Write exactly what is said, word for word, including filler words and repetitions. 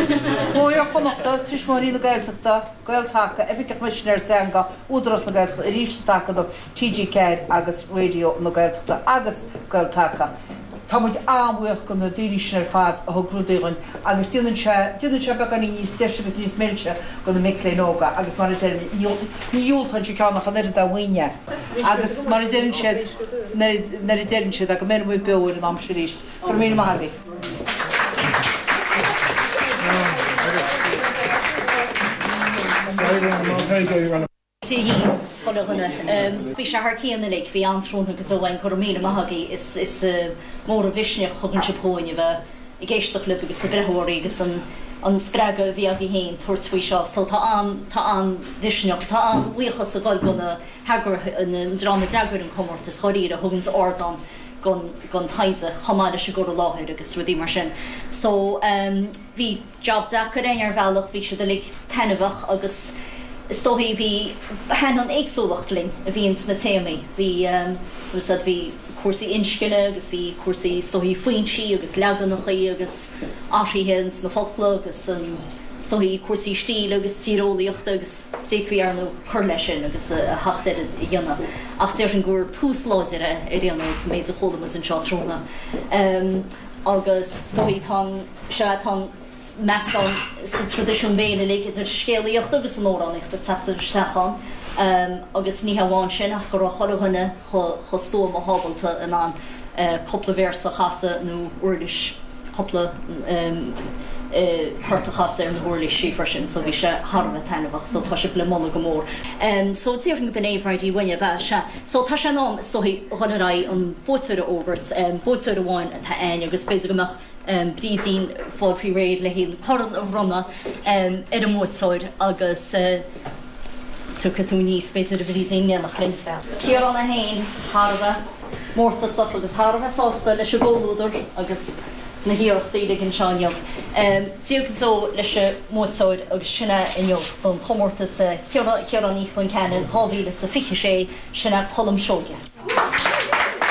Cló Iar-Chonnachta, Tuismitheoirí na Gaeltachta, Gael-Taca, Oifig an Choimisinéara Teanga, Údarás na Gaeltachta, arís an tAcadamh, TG Ceathair agus Raidió na Gaeltachta agus Gael-Taca. Tá muid an-bhuíoch go na daoine sin ar fad a thug rudaí dhúinn agus déanann sé déanann sé beagáinín níos deise agus níos milse do na mic léinn óga agus mar a deirim ní dhiúltaíonn sé ceann ach an oiread dá mhaoin agus mar a deireann siad nuair a deireann siad go mbeidh muid beo ar an am sin arís. Go raibh míle maith agaibh. Chuile dhuine. Bhí sé thar cionn uilig, bhí an-tráthnóna go deo againn, go raibh míle maith agaibh, is is mór an mhisneach a thugann sibh dhúinn a bheith ag éisteacht libh agus na breitheoirí agus an an spreagadh a bhí agaibh féin tabhairt faoi seo. So tá an tá an-mhisneach, tá an-bhuíochas ag dul go na heagraithe, an dream a d'eagraigh an comórtas, dháiríre, a thuganns ardán gon gon taighde chomh maith leis an gcur i láthair agus rudaí mar sin. So bhí job deacair againn ar bhealach, bhí siad uilig taitneamhach agus is dóichí bhí thaitin an éagsúlacht linn a bhí ins na téamaí. Bhí bhfuil 's a'd bhí cúrsaí inscne agus bhí cúrsaí is dóichí foinsí agus leaganachaí agus athruithe ins na focla agus an is dóichí cúrsaí stíle agus tíreolaíochta agus d'fhéadfaí ar ndóigh cur leis sin agus a theacht air a dhéanamh ach déarfainn gur tús láidir é ar aon nós an méid a chuala muid anseo tráthnóna agus is dóichí tá an sea tá an meascán sa traidisiún béil uilig idir scéalaíocht agus an amhránaíocht ag teacht isteach ann agus ní hamháin sin ach go raibh chuile dhuine chomh stuama ábalta in ann cúpla véarsa a chasadh nó uirlis cúpla port a chasadh ar na huirlisí freisin so bhí sé thar a bheith taitneamhach so tá sibh le moladh go mór. So déarfainn go b'in é Bhridie uainne, ab ea? Sea. So tá sé in am is dóichí dhul ar aghaidh an buaiteoir a fhógairt. Buaiteoir amháin atá a'ainn agus b'fhéidir go mbeadh Brídín fáil faoi réir le an corn a bhronnadh ar an mbuaiteoir agus tiocfaidh tú aníos b'fhéidir a Bhrídín in éineacht linn. Ciarán é féin thar a bheith mórtasach agus thar a bheith sásta leis an gcomhluadar agus na hiarrachtaí uilig anseo inniu. Dia go deo leis an mbuaiteoir agus sin é inniu don chomórtas Chiaráin Uí Chonceanainn dhá mhíle is a fiche sé, sin é Colm Seoige.